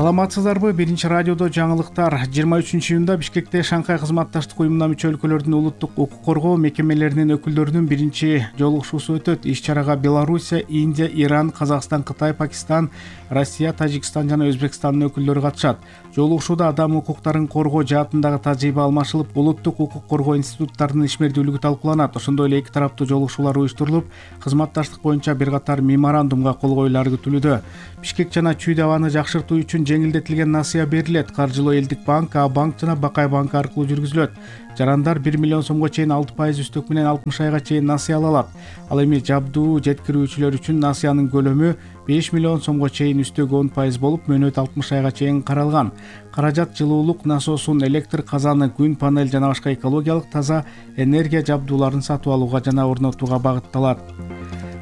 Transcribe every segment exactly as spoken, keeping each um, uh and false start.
Саламатсыздарбы? Биринчи радиодо жаңылыктар. жыйырма үчүнчү июнда Бишкекте Шанхай кызматташтык уюмуна мүчө өлкөлөрдүн улуттук укук коргоо мекемелеринин өкүлдөрүнүн биринчи жолугушуусу өтөт. Иш-чарага Белоруссия, Индия, Иран, Казакстан, Кытай, Пакистан, Россия, Тажикстан жана Өзбекстандын өкүлдөрү катышат. Жолугушууда адам укуктарын коргоо жаатындагы тажрыйба алмашылып, улуттук укук коргоо институттарынын ишмердүүлүгү талкууланат. Ошондой эле эки тараптуу жолугушуулар уюштурулуп, кызматташтык боюнча бир катар меморандумга кол коюлары күтүлүүдө. Бишкек жана Чүй абаны жакшыртуу үчүн жеңилдетилген насыя берилет. Каржылоо Элдик банк, А банк жана Бакай банк аркылуу жүргүзүлөт. Жарандар бир миллион сомго чейин алты пайыз үстөк менен алтымыш айга чейин насыя ала алат. Ал эми жабдуу жеткирүүчүлөр үчүн насыянын көлөмү беш миллион сомго чейин үстөк он пайыз болуп, мөөнөт алтымыш айга чейин каралган. Каражат жылуулук насосун, электр казаны, күн панель жана башка экологиялык таза энергия жабдууларын сатып алууга жана орнотууга багытталат.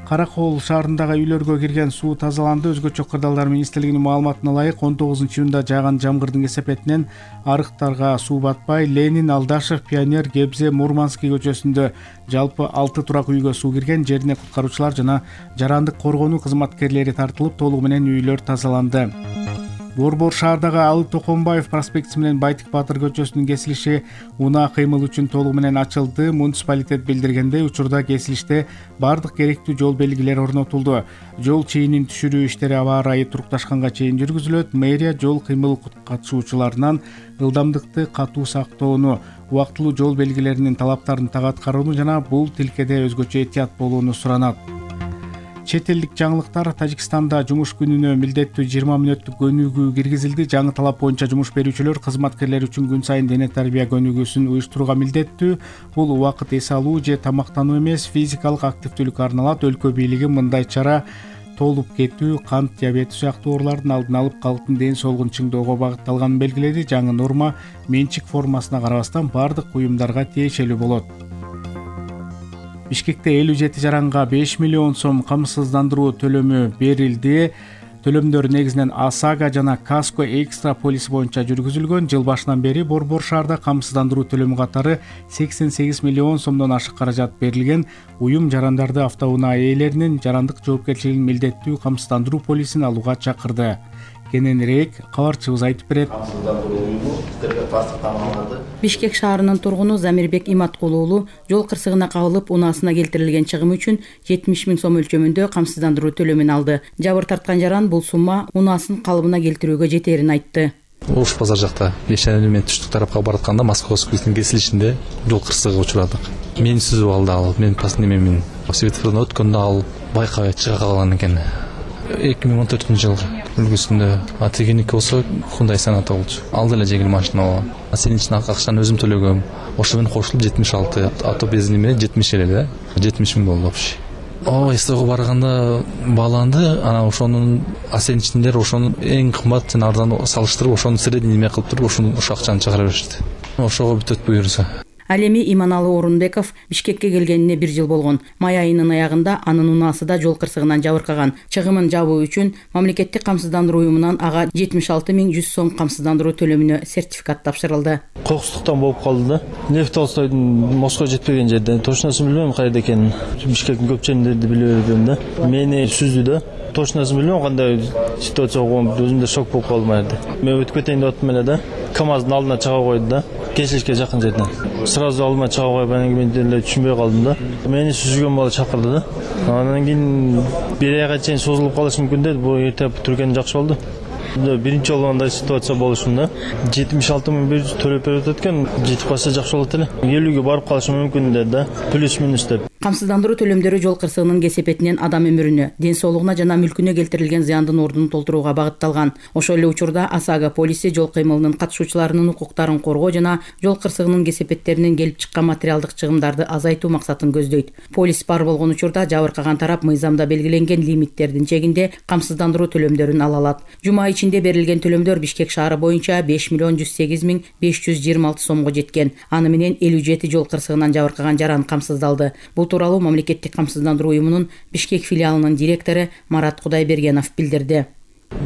Каракол шаарындагы үйлөргө кирген суу тазаланды. Өзгөчө Кырдаалдар министрлигинин маалыматына ылайык, он тогузунчу июнда жааган жамгырдын кесепетинен арыктарга суу батпай, Ленин, Алдашев, Пионер, Гебзе, Мурманский көчөсүндө жалпы алты турак үйгө суу кирген. Жерине куткаруучулар жана жарандык коргонуу кызматкерлери тартылып, толугу менен үйлөр тазаланды. Борбор шаардагы Алы Токонбаев проспектиси менен Байтик Батыр көчөсүнүн кесилиши унаа кыймыл үчүн толугу менен ачылды. Муниципалитет билдиргендей, учурда кесилиште бардык керектүү жол белгилери орнотулду. Жол чейинин түшүрүү иштери аба ырайы турукташканга чейин жүргүзүлөт. Мэрия жол кыймыл катышуучуларынан ылдамдыкты катуу сактоону, убактылуу жол белгилеринин талаптарын так аткарууну жана бул тилкеде өзгөчө этият болууну суранат. Чет элдик жаңылыктар. Тажикстанда жумуш күнүнө милдеттүү жыйырма мүнөттүк көнүгүү киргизилди. Жаңы талап боюнча жумуш берүүчүлөр кызматкерлер үчүн күн сайын дене тарбия көнүгүүсүн уюштурууга милдеттүү. Бул убакыт эс алуу же тамактануу эмес, физикалык активдүүлүккө арналат. Өлкө бийлиги мындай чара толуп кетүү, кант диабети сыяктуу оорулардын алдын алып, калктын ден соолугун чыңдоого багытталганын белгиледи. Жаңы норма менчик формасына карабастан бардык уюмдарга тиешелүү болот. Бишкекте элүү жети жаранга беш миллион сом камсыздандыруу төлөмү берилди. Төлөмдөр негизинен ОСАГО жана Каско экстра полиси боюнча жүргүзүлгөн. Жыл башынан бери Борбор шаарда камсыздандыруу төлөмү катары сексен сегиз миллион сомдон ашык каражат берилген. Уюм жарандарды автоунаа ээлеринин жарандык жоопкерчилигин милдеттүү камсыздандыруу полисин алууга чакырды. Кененирээк кабарчыбыз айтып берет. Бишкек шаарынын тургуну Замирбек Иматкулу уулу жол кырсыгына кабылып, унаасына келтирилген чыгым үчүн жетимиш миң сом өлчөмүндө камсыздандыруу төлөмүн алды. Жабыр тарткан жаран бул сумма унаасын калыбына келтирүүгө жетерин айтты. Ош базар жакта Бешенели менен түштүк тарапка баратканда Московскийдин кесилишинде жол кырсыгына учурадык. Мени сүзүп алды ал. Мен паснемемин светофордон өткөндө ал байкабай чыга калган экен. эки миң он төртүнчү жыл үлгүсүндө атегеники болсо Hyundai Sonata болчу. Ал деле жеңил машина болгон. Сенин үчүн акчаны өзүм төлөгөм. Ошо менен кошулуп жетимиш алты, ато бензини менен жетимиш эле да. жетимиш миң болду вообще. О, эстого барганда бааланды. Анан ошонун асеничиндер ошонун эң кымбат жана арзан салыштырып, ошону средний неме кылып туруп, ошону ошо акчаны чыгара беришти. Ошого бүтөт буюрса. Ал эми Иманалы Орунбеков Бишкекке келгенине бир жыл болгон. Май айынын аягында анын унаасы да жол кырсыгынан жабыркаган. Чыгымын жабуу үчүн мамлекеттик камсыздандыруу уюмунан ага жетимиш алты миң жүз сом камсыздандыруу төлөмүнө сертификат тапшырылды. Кокустуктан болуп калды да. Лев Толстойдун Москва жетпеген жерде. Точносын билбейм кайда экенин. Бишкектин көп жеринде биле бербейм да. Мени сүздү да. Точносын билбейм кандай ситуация болгон, өзүм да шок болуп калдым айда. Мен өтүп кетейин деп аттым эле да. КамАздын алдына чыга койду да. Кесилишке жакын жерден. Сразу алдыма чыга коюп, анан мен деле түшүнбөй калдым да. Мени сүзгөн бала чакырды да. Анан кийин бир айга чейин созулуп калышы мүмкүн деди. Бул эрте түргөн жакшы болду. Биринчи жолу андай ситуация болушун да. жетимиш алты миң бир жүз төлөп берип өткөн, жетип калса жакшы болот эле. элүүгө барып калышы мүмкүн деди да. Плюс минус деп. Камсыздандыруу төлөмдөрү жол кырсыгынын кесепетинен адам өмүрүнө, ден соолугуна жана мүлкүнө келтирилген зыяндын ордун толтурууга багытталган. Ошол эле учурда ОСАГО полиси жол кыймылынын катышуучуларынын укуктарын коргоо жана жол кырсыгынын кесепеттеринен келип чыккан материалдык чыгымдарды азайтуу максатын көздөйт. Полис бар болгон учурда жабыркаган тарап мыйзамда белгиленген лимиттердин чегинде камсыздандыруу төлөмдөрүн ала алат. Жума ичинде берилген төлөмдөр Бишкек шаары боюнча беш миллион жүз сегиз миң беш жүз жыйырма алты сомго жеткен. Аны менен элүү жети жол кырсыгынан жабыркаган жаран камсыздалды. Бул тууралуу мамлекеттик камсыздандыруу уюмунун Бишкек филиалынын директору Марат Кудайбергенов билдирди.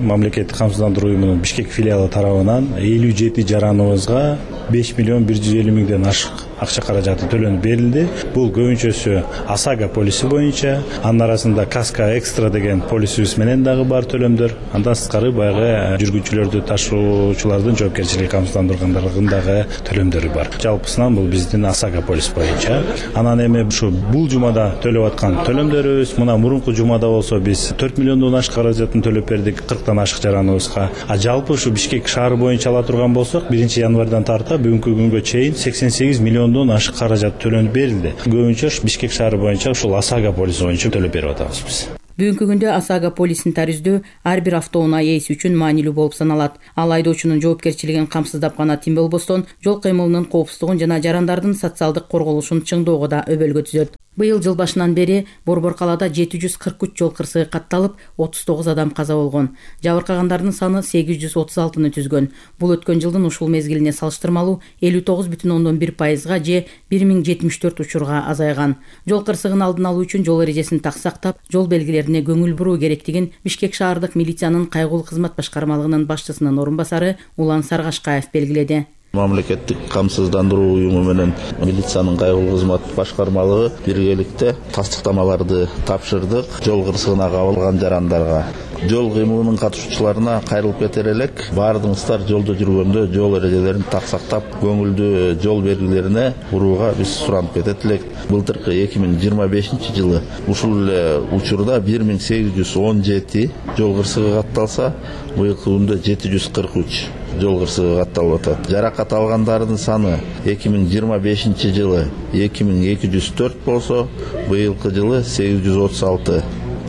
Мамлекеттик камсыздандыруу уюмунун Бишкек филиалы тарабынан элүү жети жараныбызга беш миллион бир жүз элүү миңден ашык акча каражаты төлөнүп берилди. Бул көбүнчөсү ОСАГО полиси боюнча, анын арасында Каска Экстра деген полисибиз менен дагы бар төлөмдөр. Андан сырткары баягы жүргүнчүлөрдү ташуучулардын жоопкерчилиги камсыздандырылгандагы төлөмдөрү бар. Жалпысынан бул биздин ОСАГО полис боюнча. Анан эми ушу бул жумада төлөп аткан төлөмдөрүбүз, мына мурунку жумада болсо биз төрт миллиондон ашык каражатын төлөп бердик кырктан ашык жараныбызга. А жалпы ушу Бишкек шаары боюнча ала турган болсок, биринчи январдан тарта бүгүнкү күнгө чейин сексен сегиз миллиондон ашык каражат төлөнүп берилди. Көбүнчө Бишкек шаары боюнча ушул ОСАГО полиси боюнча төлөп берип атабыз биз. Бүгүнкү күндө ОСАГО полисин тарүздөө ар бир автоунаа ээси үчүн маанилүү болуп саналат. Ал айдоочунун жоопкерчилигин камсыздап гана тим болбостон, жол кыймылынын коопсуздугун жана жарандардын социалдык корголушун чыңдоого да өбөлгө түзөт. Быйыл жыл башынан бери Борбор калаада жети жүз кырк үч жол кырсыгы катталып, отуз тогуз адам каза болгон. Жабыркагандардын саны сегиз жүз отуз алтыны түзгөн. Бул өткөн жылдын ушул мезгилине салыштырмалуу элүү тогуз бүтүн ондон бир пайызга же бир миң жетимиш төрт учурга азайган. Жол кырсыгын алдын алуу үчүн жол эрежесин так сактап, жол белгилерине көңүл буруу керектигин Бишкек шаардык милициянын кайгылуу кызмат башкармалыгынын башчысынын орун басары Улан Саргашкаев белгиледи. Мамлекеттик камсыздандыруу уюму менен милициянын кайгылуу кызмат башкармалыгы биргеликте тастыктамаларды тапшырдык жол кырсыгына кабылган жарандарга. Жол кыймылынын катышуучуларына кайрылып кетер элек, баардыгыңыздар жолдо жүргөндө жол эрежелерин так сактап, көңүлдүү жол белгилерине урууга биз суранып кетет элек. Былтыркы эки миң жыйырма бешинчи жылы ушул эле учурда бир миң сегиз жүз он жети жол кырсыгы катталса, быйылкы күндө жети жүз кырк үч жол кырсыгы катталып атат. Жаракат алгандардын саны эки миң жыйырма бешинчи жылы эки миң эки жүз төрт болсо, быйылкы жылы сегиз жүз отуз алты.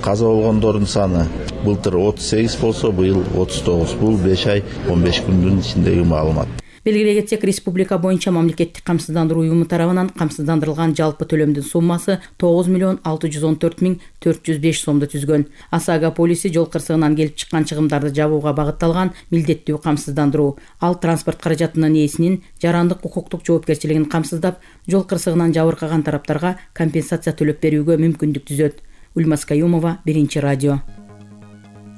Каза болгондордун саны былтыр отуз сегиз болсо, быйыл отуз тогуз. Бул беш ай он беш күндүн ичиндеги маалымат. Белгилей кетсек, республика боюнча мамлекеттик камсыздандыруу уюму тарабынан камсыздандырылган жалпы төлөмдүн суммасы тогуз миллион алты жүз он төрт миң төрт жүз беш сомду түзгөн. ОСАГО полиси жол кырсыгынан келип чыккан чыгымдарды жабууга багытталган милдеттүү камсыздандыруу. Ал транспорт каражатынын ээсинин жарандык укуктук жоопкерчилигин камсыздап, жол кырсыгынан жабыркаган тараптарга компенсация төлөп берүүгө мүмкүндүк түзөт. Ульмас Каюмова, Биринчи радио.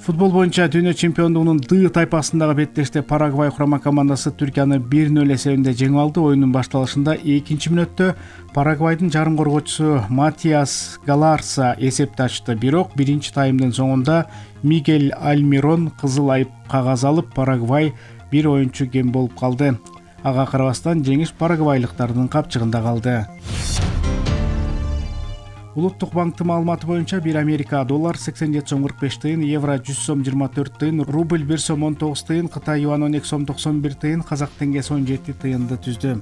Футбол боюнча дүйнө чемпиондугунун Д тайпасындагы беттеште Парагвай курама командасы Түркияны бир нөл эсебинде жеңип алды. Оюндун башталышында экинчи мүнөттө Парагвайдын жарым коргоочусу Матиас Галарса эсепти ачты. Бирок биринчи таймдын соңунда Мигель Альмирон кызыл айып кагаз алып, Парагвай бир оюнчу кем болуп калды. Ага карабастан жеңиш парагвайлыктардын капчыгында калды. Улуттук банктын маалыматы боюнча бир Америка доллар сексен жети сом кырк беш тыйын, евро жүз сом жыйырма төрт тыйын, рубль бир сом он тогуз тыйын, Кытай юан он эки сом токсон бир тыйын, казак теңгеси он жети тыйынды түздү.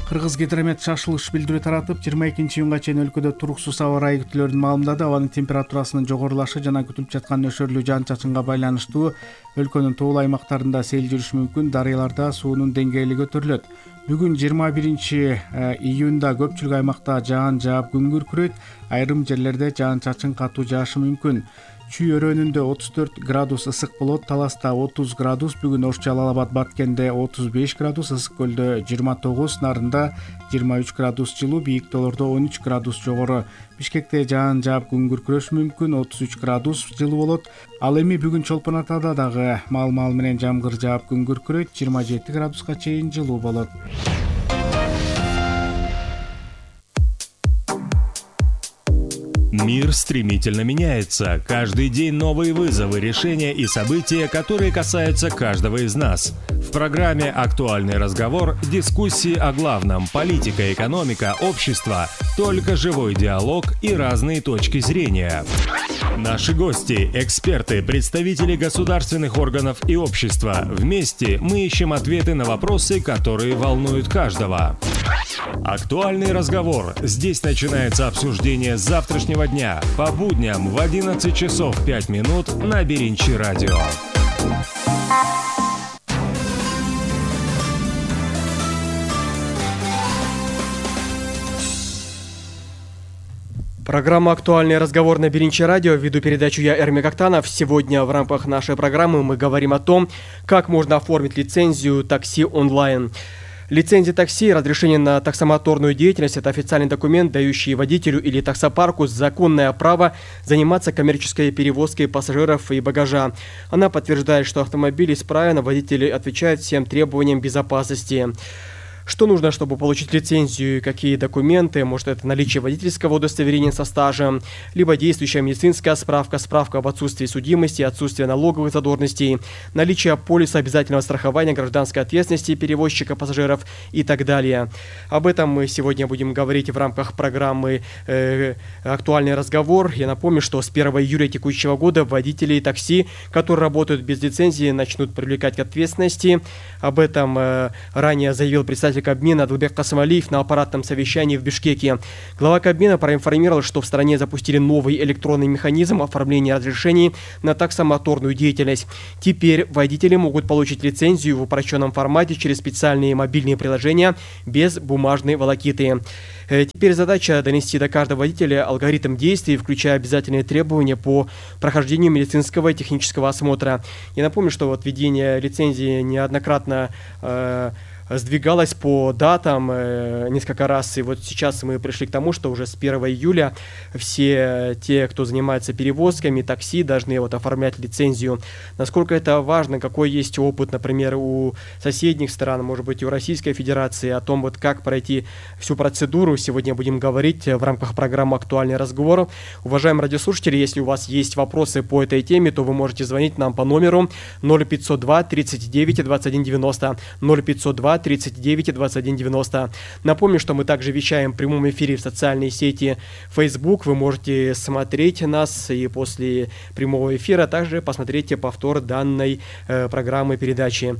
Кыргыз гидромет шашылыш билдирүү таратып, жыйырма экинчи июнга чейин өлкөдө туруксуз аба ырайы күтүлөрүн маалымдады. Абанын температурасынын жогорулашы жана күтүлүп жаткан нөшөрлүү жаан-чачынга байланыштуу өлкөнүн тоолуу аймактарында сел жүрүшү мүмкүн, дарыяларда суунун деңгээли көтөрүлөт. Бүгүн жыйырма биринчи июнда көпчүлүк аймакта жаан жаап күн күркүрөйт, айрым жерлерде жаан-чачын катуу жаашы мүмкүн. Чүй өрөөнүндө отуз төрт градус ысык болот, Таласта отуз градус, бүгүн Ош Жалал Абад Баткенде отуз беш градус, Ысык көлдө жыйырма тогуз, Нарында жыйырма үч градус жылуу, бийик тоолордо он үч градус жогору. Бишкекте жаан жаап күн күркүрөшү мүмкүн, отуз үч градус жылуу болот. Ал эми бүгүн Чолпон Атада дагы маал-маал менен жамгыр жаап күн күркүрөйт, жыйырма жети градуска чейин жылуу болот. Мир стремительно меняется. Каждый день новые вызовы, решения и события, которые касаются каждого из нас. В программе «Актуальный разговор» дискуссии о главном – политика, экономика, общество, только живой диалог и разные точки зрения. Наши гости – эксперты, представители государственных органов и общества. Вместе мы ищем ответы на вопросы, которые волнуют каждого. «Актуальный разговор». Здесь начинается обсуждение завтрашнего дня по будням в одиннадцать часов пять минут на Биринчи радио. Программа «Актуальный разговор» на Биринчи радио. Веду передачу я, Эрмек Актанов. Сегодня в рамках нашей программы мы говорим о том, как можно оформить лицензию такси онлайн. Лицензия такси, разрешение на таксомоторную деятельность – это официальный документ, дающий водителю или таксопарку законное право заниматься коммерческой перевозкой пассажиров и багажа. Она подтверждает, что автомобиль исправен, а водители отвечают всем требованиям безопасности. Что нужно, чтобы получить лицензию? Какие документы? Может, это наличие водительского удостоверения со стажем, либо действующая медицинская справка, справка об отсутствии судимости, отсутствие налоговых задолженностей, наличие полиса обязательного страхования гражданской ответственности перевозчика пассажиров и так далее. Об этом мы сегодня будем говорить в рамках программы э, «Актуальный разговор». Я напомню, что с первого июля текущего года водители такси, которые работают без лицензии, начнут привлекать к ответственности. Об этом э, ранее заявил представитель Кабмина Адылбек Касымалиев на аппаратном совещании в Бишкеке. Глава Кабмина проинформировал, что в стране запустили новый электронный механизм оформления разрешений на таксомоторную деятельность. Теперь водители могут получить лицензию в упрощенном формате через специальные мобильные приложения без бумажной волокиты. Теперь задача донести до каждого водителя алгоритм действий, включая обязательные требования по прохождению медицинского и технического осмотра. Я напомню, что вот введение лицензии неоднократно э, сдвигалось по датам э, несколько раз, и вот сейчас мы пришли к тому, что уже с первого июля все те, кто занимается перевозками, такси, должны вот оформлять лицензию. Насколько это важно, какой есть опыт, например, у соседних стран, может быть, у Российской Федерации, о том, вот как пройти всю процедуру, сегодня будем говорить в рамках программы «Актуальный разговор». Уважаемые радиослушатели, если у вас есть вопросы по этой теме, то вы можете звонить нам по номеру ноль пятьсот два тридцать девять двадцать один девяносто, ноль пятьсот два тридцать девять двадцать один девяносто. Напомню, что мы также вещаем в прямом эфире в социальной сети Facebook. Вы можете смотреть нас и после прямого эфира также посмотреть повтор данной э, программы передачи.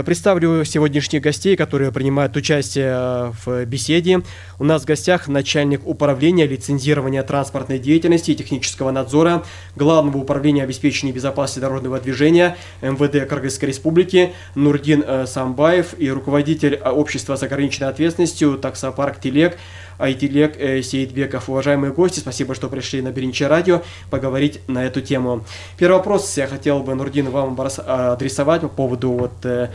Представлю сегодняшних гостей, которые принимают участие в беседе. У нас в гостях начальник управления лицензирования транспортной деятельности и технического надзора Главного управления обеспечения безопасности дорожного движения эм вэ дэ Кыргызской Республики Нурдин Самбаев и руководитель общества с ограниченной ответственностью «Таксопарк Телек» Айтилек Сейитбеков. Уважаемые гости, спасибо, что пришли на Биринчи радио поговорить на эту тему. Первый вопрос я хотел бы, Нурдин, вам адресовать по поводу вот, э,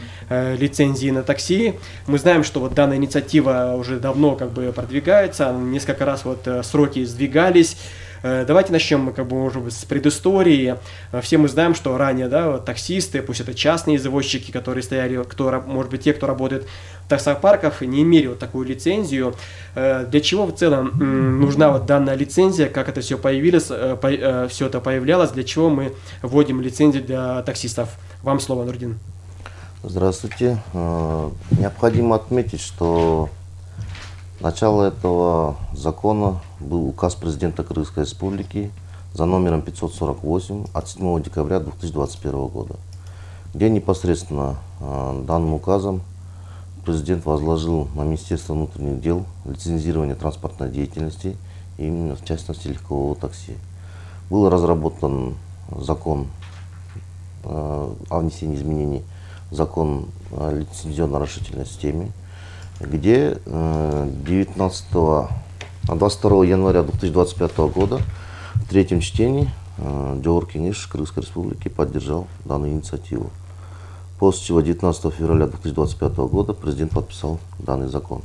лицензии на такси. Мы знаем, что вот данная инициатива уже давно как бы продвигается, несколько раз вот сроки сдвигались. Давайте начнем как бы, может быть, с предыстории. Все мы знаем, что ранее да, вот, таксисты, пусть это частные извозчики, которые стояли, кто, может быть, те, кто работает в таксопарках, не имели вот такую лицензию. Для чего в целом нужна вот данная лицензия, как это все появилось, все это появлялось, для чего мы вводим лицензию для таксистов? Вам слово, Нурдин. Здравствуйте. Необходимо отметить, что начало этого закона был указ президента Кыргызской Республики за номером пятьсот сорок восемь от седьмого декабря две тысячи двадцать первого года, где непосредственно э, данным указом президент возложил на Министерство внутренних дел лицензирование транспортной деятельности, именно в частности легкового такси. Был разработан закон э, о внесении изменений в закон о лицензионно-разрешительной системе, где девятнадцатого, двадцать второго января две тысячи двадцать пятого года в третьем чтении Жоғарғы Кеңеш Кыргызской Республики поддержал данную инициативу. После чего девятнадцатого февраля две тысячи двадцать пятого года президент подписал данный закон.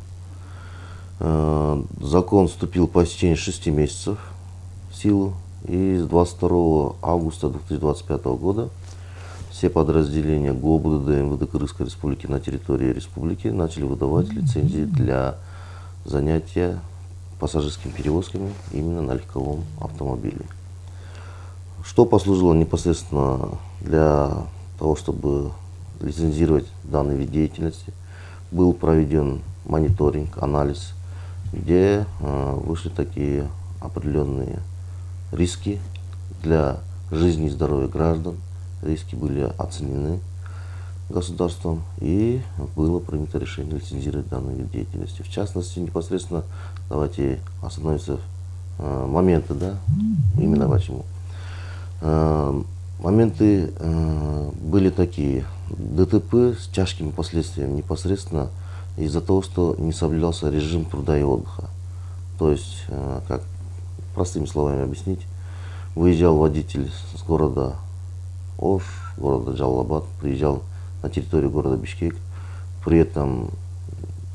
Закон вступил по истечении шести месяцев в силу, и с двадцать второго августа две тысячи двадцать пятого года все подразделения ГОБДД эм вэ дэ Кыргызской Республики на территории республики начали выдавать лицензии для занятия пассажирскими перевозками именно на легковом автомобиле. Что послужило непосредственно для того, чтобы лицензировать данный вид деятельности? Был проведен мониторинг, анализ, где э, вышли такие определенные риски для жизни и здоровья граждан. Риски были оценены государством, и было принято решение лицензировать данный вид деятельности. В частности, непосредственно, давайте остановимся э, моменты, да, именно почему. Э, моменты э, были такие: дэ тэ пэ с тяжкими последствиями непосредственно из-за того, что не соблюдался режим труда и отдыха. То есть, э, как простыми словами объяснить, выезжал водитель с города Ош, города Джалалабад, приезжал на территорию города Бишкек, при этом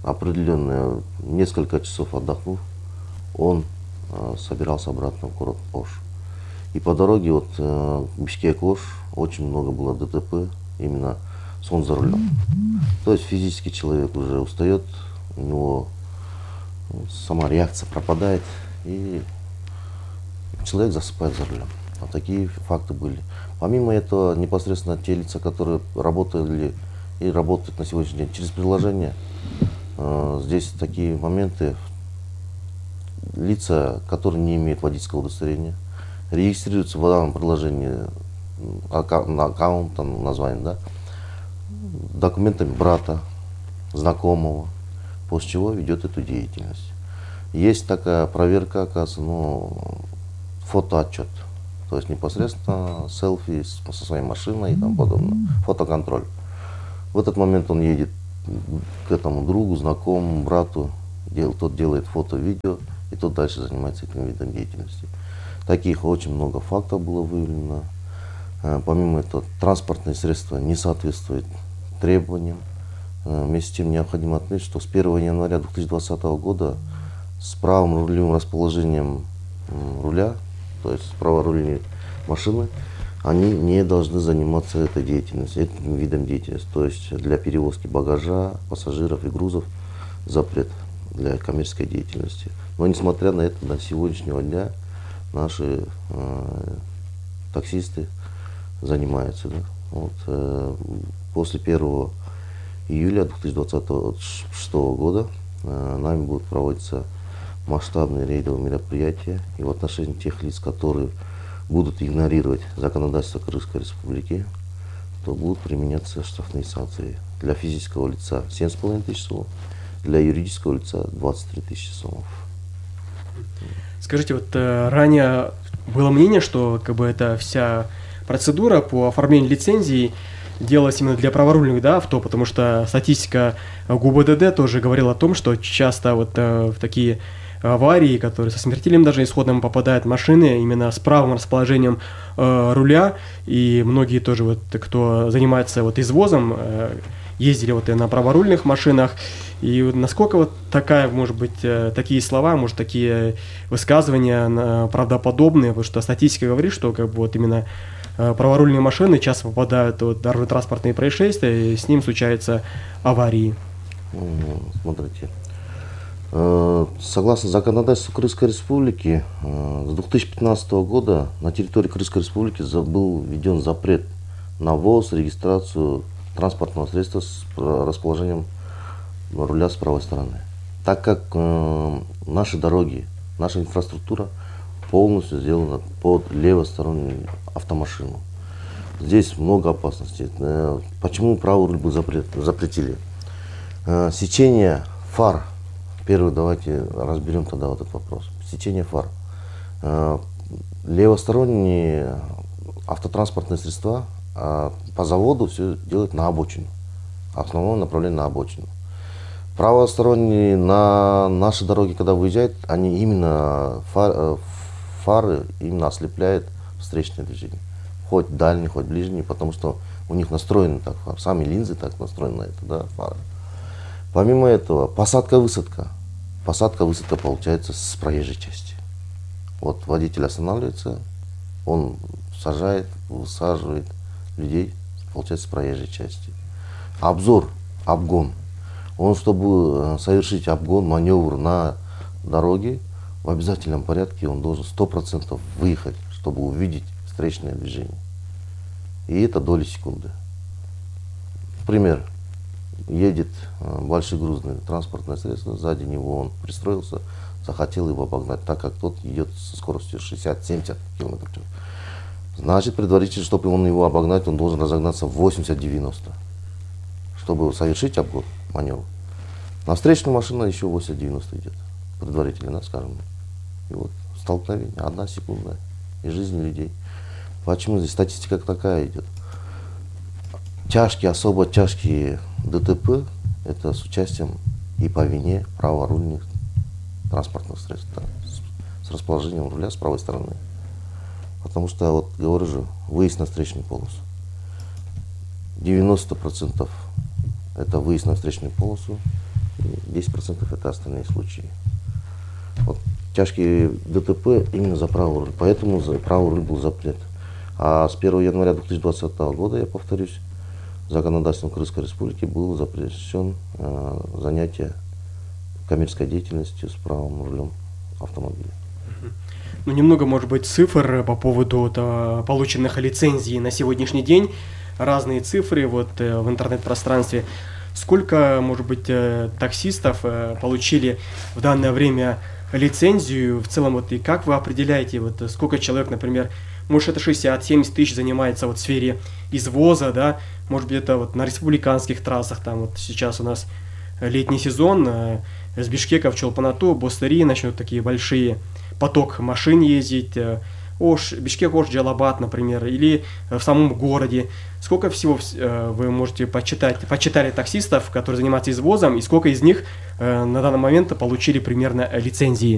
определенное несколько часов отдохнув, он э, собирался обратно в город Ош. И по дороге вот э, Бишкек-Ош очень много было дэ тэ пэ, именно сон за рулем. То есть физически человек уже устает, у него сама реакция пропадает, и человек засыпает за рулем. Вот такие факты были. Помимо этого, непосредственно те лица, которые работали и работают на сегодняшний день через приложение, э, здесь такие моменты. Лица, которые не имеют водительского удостоверения, регистрируются в данном приложении на аккаунт, там, название, да, документами брата, знакомого, после чего ведет эту деятельность. Есть такая проверка, оказывается, ну, фотоотчет, то есть непосредственно селфи со своей машиной и тому подобное, фотоконтроль. В этот момент он едет к этому другу, знакомому, брату, дел, тот делает фото, видео, и тот дальше занимается этим видом деятельности. Таких очень много фактов было выявлено. Помимо этого, транспортные средства не соответствуют требованиям. Вместе с тем необходимо отметить, что с первого января две тысячи двадцатого года с правым рулевым расположением руля, то есть с праворульной машины, они не должны заниматься этой деятельностью, этим видом деятельности. То есть для перевозки багажа, пассажиров и грузов запрет для коммерческой деятельности. Но несмотря на это, до сегодняшнего дня наши э, таксисты занимаются. Да? Вот, э, после первого июля две тысячи двадцатого шестого года э, нами будут проводиться масштабные рейдовые мероприятия. И в отношении тех лиц, которые будут игнорировать законодательство Кыргызской Республики, то будут применяться штрафные санкции. Для физического лица семь с половиной тысяч сомов, для юридического лица двадцать три тысячи сомов. Скажите, вот э, ранее было мнение, что как бы эта вся процедура по оформлению лицензии делалась именно для праворульных, да, авто, потому что статистика ГУБДД тоже говорила о том, что часто вот э, в такие аварии, которые со смертельным даже исходом попадают машины именно с правым расположением э, руля, и многие тоже вот, кто занимается вот извозом, э, ездили вот и на праворульных машинах. И насколько вот такая, может быть, такие слова, может, такие высказывания правдоподобные, потому что статистика говорит, что как бы вот именно праворульные машины часто попадают в дорожно-транспортные происшествия, и с ним случаются аварии. Смотрите, согласно законодательству Кыргызской Республики, с две тысячи пятнадцатого года на территории Кыргызской Республики был введен запрет на ввоз, регистрацию транспортного средства с расположением руля с правой стороны. Так как э, наши дороги, наша инфраструктура полностью сделана под левостороннюю автомашину. Здесь много опасностей. Э, почему правый руль был запрет, запретили? Э, сечение фар. Первый давайте разберем тогда вот этот вопрос. Сечение фар. Э, левосторонние автотранспортные средства э, по заводу все делают на обочину. Основное направление на обочину. Правосторонние на наши дороги, когда выезжают, они именно фар, фары именно ослепляют встречное движение. Хоть дальний, хоть ближний, потому что у них настроены так, сами линзы так настроены на это, да, фары. Помимо этого, посадка-высадка. Посадка-высадка получается с проезжей части. Вот водитель останавливается, он сажает, высаживает людей, получается с проезжей части. Обзор, обгон. Он, чтобы совершить обгон, маневр на дороге, в обязательном порядке он должен сто процентов выехать, чтобы увидеть встречное движение. И это доли секунды. Пример. Едет большегрузное транспортное средство, сзади него он пристроился, захотел его обогнать, так как тот идет со скоростью шестьдесят-семьдесят километров в час. Значит, предварительно, чтобы он его обогнать, он должен разогнаться в восемьдесят-девяносто, чтобы совершить обгон. Маневр. На встречную машину еще восемьдесят-девяносто идет. Предварительно, скажем. И вот столкновение, одна секунда, и жизнь людей. Почему здесь статистика такая идет? Тяжкие, особо тяжкие ДТП, это с участием и по вине праворульных транспортных средств, да, с, с расположением руля с правой стороны. Потому что, вот говорю же, выезд на встречную полосу. девяносто процентов это выезд на встречную полосу, десять процентов это остальные случаи. Вот тяжкие ДТП именно за правый руль, поэтому за правый руль был запрет. А с первого января две тысячи двадцатого года, я повторюсь, законодательством Кыргызской Республики был запрещен э, занятие коммерческой деятельностью с правом рулем автомобиля. Ну, немного, может быть, цифр по поводу вот, полученных лицензий на сегодняшний день. Разные цифры вот, в интернет-пространстве. Сколько, может быть, таксистов получили в данное время лицензию в целом? Вот, и как вы определяете, вот, сколько человек, например, может, это шестьдесят-семьдесят тысяч занимается вот, в сфере извоза, да? Может быть, это вот, на республиканских трассах, там вот сейчас у нас летний сезон, с Бишкека в Чолпан-Ату, Бостыри начнут такие большие поток машин ездить, Ош, Бишкек, Ош, Джалабад, например, или в самом городе. Сколько всего вы можете почитать, почитали таксистов, которые занимаются извозом, и сколько из них на данный момент получили примерно лицензии?